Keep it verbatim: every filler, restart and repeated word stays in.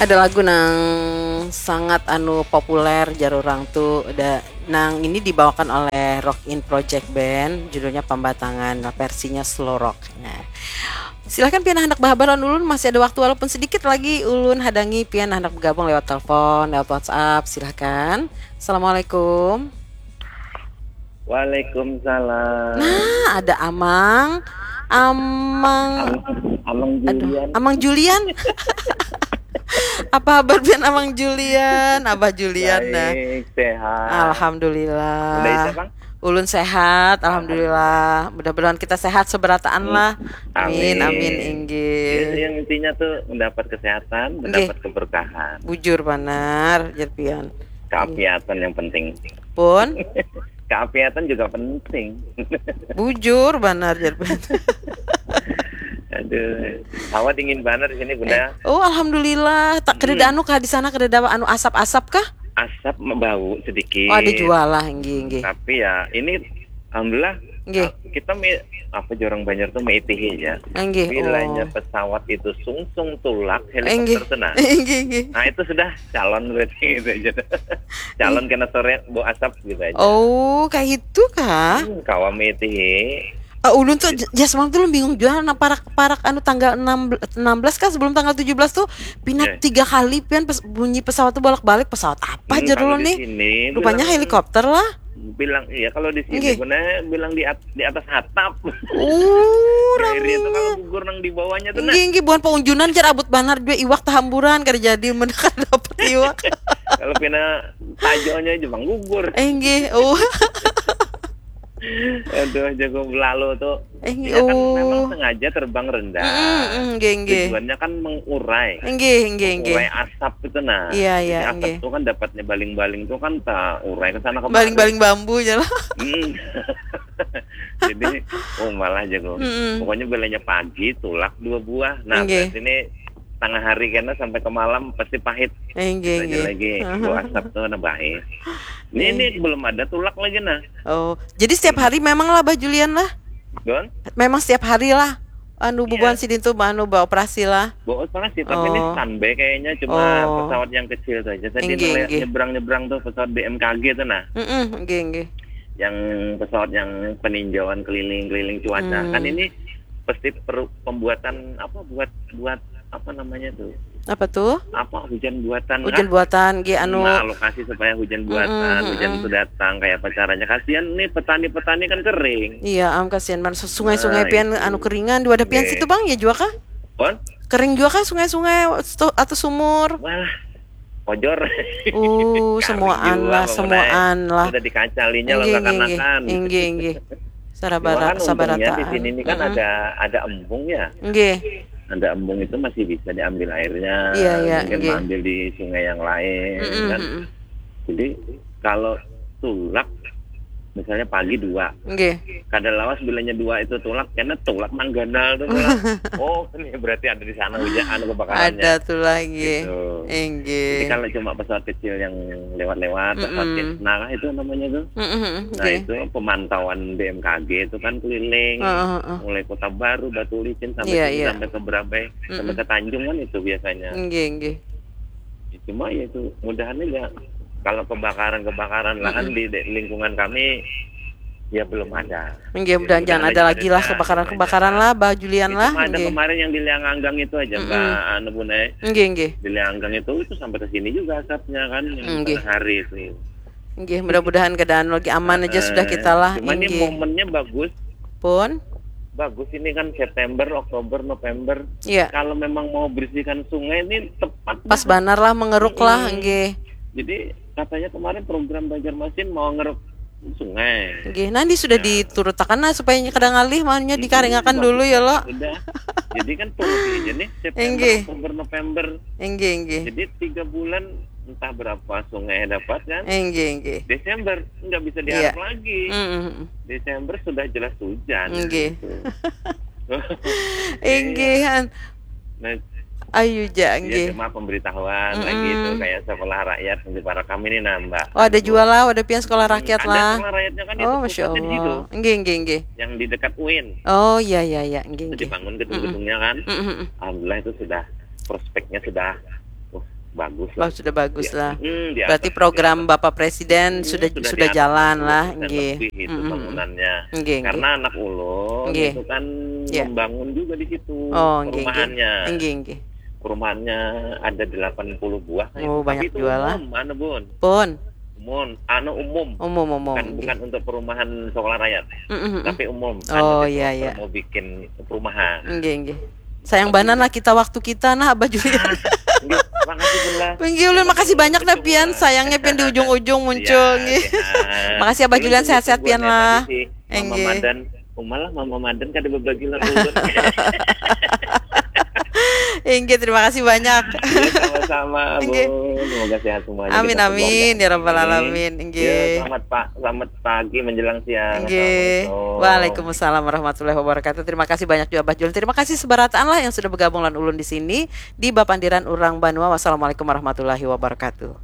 Ada lagu nang sangat anu populer jar urang tu, da, nang ini dibawakan oleh Rock In Project Band, judulnya Pambatangan, versinya slow rock. Nah, silahkan pian handak bahabar lawan ulun, masih ada waktu walaupun sedikit lagi. Ulun hadangi pian handak bergabung lewat telepon, lewat WhatsApp, silahkan. Assalamualaikum. Waalaikumsalam. Nah, ada Amang. Amang. Amang, Amang Aduh, Julian. Amang Julian. Apa habar pian Amang Julian? Abah Julian dah. Baik, sehat. Alhamdulillah. Udah itu, Bang? Ulun sehat, alhamdulillah. Mudah-mudahan kita sehat seberataan lah. Amin, amin, inggih. Ya, yang intinya tuh mendapat kesehatan, Inggih. Mendapat keberkahan. Bujur banar, jar pian. Keapiatan yang penting. Pun? Keapiatan juga penting. Bujur banar, jar pian. Aduh, hawa dingin banar di sini, Bunda. Eh, oh, alhamdulillah. Tak, kadada Hmm. anu kah di sana, kadada anu asap-asap kah? Asap bau sedikit. Oh, ada jua lah, inggih, inggih. Tapi ya, ini alhamdulillah, Inggih. Kita mi-, apa jar urang Banjar tuh, meitihi aja. Inggih, Bilanya oh. pesawat itu sungsung tulak, Inggih. helikopter tuh, nah. Inggih, inggih. Nah, itu sudah calon berarti gitu aja. Calon Inggih. kena sore, bau asap gitu aja. Oh, kayak itu kah? Hmm, kawa meitihi. Ah, ulun tuh Gitu. j-, jas malam tuh ulun bingung jua, nah, parak, parak anu tanggal enam, enam belas kah, sebelum tanggal tujuh belas tuh pina Iya. tiga kali pian pes-, bunyi pesawat tuh bolak-balik, pesawat apa Hmm, jar kalau ulun di nih? sini Rupanya bilang helikopter lah. Bilang, iya, kalau di sini Nggih. Bunda bilang di at-, di atas atap. Uh, Daerah itu kalau rami. gugur nang di bawahnya tuh, nah. Nggih, nggih, bukan paunjunan jar, abut banar jua iwak tahamburan, kada jadi mendekat dapat iwak. Kalau pina tajonya aja bang gugur. Eh, nggih. Oh. Aduh, jago belalu tuh. Eh, Dia kan oh. memang sengaja terbang rendah. Mm, mm, nggih, nggih. Tujuannya kan mengurai. Nggih, nggih, nggih. Mengurai asap itu, nah. Iya, iya, Jadi asap nggih. itu kan dapatnya baling-baling tuh kan tak urai ke sana kemari. Baling-baling bambu aja lah. Hmm. Jadi, oh, malah jago. Mm-mm. Pokoknya bilanya pagi, tulak dua buah. Nah, Nggih. berarti ini tengah hari kena sampai ke malam pasti pahit. Eh, nggih, Itu aja nggih. lagi. Aha. Bau asap tuh nambah. Ini, Nggih. ini belum ada tulak lagi, nah. Oh, jadi setiap hari memang lah, Bah Julian lah? Don? Memang setiap hari lah. Anu, Iya. bubuhan sidin tuh, anu, beroperasi lah. Beroperasi, tapi ini Oh. standby kayaknya, cuma Oh. pesawat yang kecil tuh aja. Tadi Inggih, nele-, inggih. nyebrang-nyebrang tuh pesawat B M K G tuh, nah. Mm-mm, inggih, inggih. Yang pesawat yang peninjauan keliling-keliling cuaca. Hmm. Kan ini pasti perlu pembuatan apa, buat, buat apa namanya tuh? Apa tuh? Apa, hujan buatan Hujan kah? buatan, nggih, anu. Nah, lokasi supaya hujan Mm-mm, buatan, hujan mm-mm. itu datang, kayak apa caranya? Kasihan nih petani-petani kan kering. Iya, am, kasihan banget. Su-, sungai-sungai Nah, pian itu. anu keringan di wadah pian Nggih. situ, Bang, ya jua kah? Pon? Kering jua kah sungai-sungai stu-, atau sumur? Wah, ojor. Uh, Kering semuaan jua, lah, Bang, semuaan Munai. lah. Sudah dikacalinya Inggih, lah, inggih, inggih. kanakan. Inggih, inggih. Cuma Sarabara-, kan untungnya di sabarataan. sini ini kan Mm-mm. ada, ada embung ya. Nggih. Ada embung itu masih bisa diambil airnya, Iya, iya, mungkin nggih. ambil di sungai yang lain, Mm-mm, kan. mm-mm. Jadi, kalau tulak, misalnya pagi dua, Nggih. kada lawas bilanya dua itu tulak, karena tulak nang ganal tuh, tulak. Oh, ini berarti ada di sana hujan, anu, kebakarannya. Ada tuh lagi. Gitu. Inggih. Jadi, kalau cuma pesawat kecil yang lewat-lewat, pesawat Mm-mm. Cessna kah itu namanya tuh? Mm-mm, mm-mm, Nah, nggih. itu pemantauan B M K G itu kan keliling, Heeh, heeh. mulai Kota Baru, Batu Licin, sampai Iya, sini, iya. sampai ke Berabai, sampai Mm-mm. ke Tanjung kan itu biasanya. Nggih, nggih. Ya, cuma ya itu, mudahan aja kalau kebakaran-kebakaran lahan Mm-mm. di de-, lingkungan kami, ya belum ada. Nggih, Jadi, mudahan jangan mudahan ada aja lagi lah ada kebakaran-kebakaran aja. lah, Bah Julian Ya, lah, cuma ada nggih. kemarin yang di Liang Anggang itu aja, Mm-mm. Mbak anu, Bun, eh. Nggih, nggih. Di Liang Anggang itu, itu sampai ke sini juga asapnya kan, yang Nggih. tengah hari itu. Nggih, mudah-mudahan keadaan lagi aman aja sudah Heeh. kita lah, Cuma ini nggih. momennya bagus. Pun? Bagus ini kan September, Oktober, November. Iya. Kalau memang mau bersihkan sungai ini tepat Pas banget. banar lah, mengeruk lah, Mm-mm. nggih. Jadi katanya kemarin program Banjarmasin mau ngeruk sungai. Nggih, nanti sudah Nah. diturutakan lah supaya kada ngalih, maunya Mm-mm, dikaringakan bagus dulu ya, banget lo. sudah. Jadi kan tunggu aja nih, September, Nggih. Oktober, November. Nggih, nggih. Jadi tiga bulan entah berapa sungai dapat kan. Nggih, nggih. Desember nggak bisa Iya. diharap lagi. Mm-mm. Desember sudah jelas hujan Nggih. gitu. Inggih, Iya. han. Nah, Ayu ja, iya, nggih. cuma pemberitahuan lagi itu Mm-mm. kayak sekolah rakyat di para kami nih, nah, Mbak. Oh, ada Aduh. jua lah, ada pian sekolah Hmm, rakyat ada lah. sekolah rakyatnya kan itu Oh, Masya pusatnya di situ. Allah. Nggih, nggih, nggih. Yang di dekat U I N. Oh, iya, iya, iya. Nggih, Itu nggih. dibangun Mm-mm. gedung-gedungnya kan. Mm-mm, mm-mm. Alhamdulillah itu sudah, prospeknya sudah, wah, bagus lah. Bah, sudah bagus Ya. lah. Hmm, di Berarti atas program sudah. Bapak Presiden Hmm, sudah sudah sudah di atas jalan sepuluh lah, persen nggih. Lebih itu Mm-mm. Bangunannya. Nggih, nggih. Karena anak ulun Nggih. itu kan Ya. Membangun juga di situ Oh, nggih, nggih. Perumahannya. Nggih, nggih. Perumahannya ada delapan puluh buah kayaknya. Oh, Tapi banyak itu juga lah. Umum, anu bun. Pun. Umum, anu umum. Umum, umum, Bukan nggih. Bukan untuk perumahan sekolah rakyat. Mm-mm. Tapi umum. Oh, Anu iya, developer iya. Mau bikin perumahan. Nggih, nggih. Sayang banar lah kita waktu kita nah, Abah Julian. Nggih, makasih pun lah. Nggih, ulun makasih banyak nah pian. Sayangnya pian di ujung-ujung muncul, Ya, nggih. Sehat. Makasih, Abah Ulun Julian, tunggu sehat-sehat pian buatnya lah. Tadi si Mama Nggih. Madan. Umalah Mama Madan kada berbagi lah ulun. Inggih, terima kasih banyak. Ya, sama-sama, Nggih. Bun. Semoga sehat semuanya. Amin, Kita amin, keluarga. ya rabbal Amin. alamin. Ya, Inggih. Selamat pa- selamat pagi menjelang siang. Inggih. Assalamualaikum. Waalaikumsalam warahmatullahi wabarakatuh. Terima kasih banyak juga, Abah Julian. Terima kasih seberataan lah yang sudah bergabung lan ulun di sini di Bapandiran Urang Banua. Wassalamualaikum warahmatullahi wabarakatuh.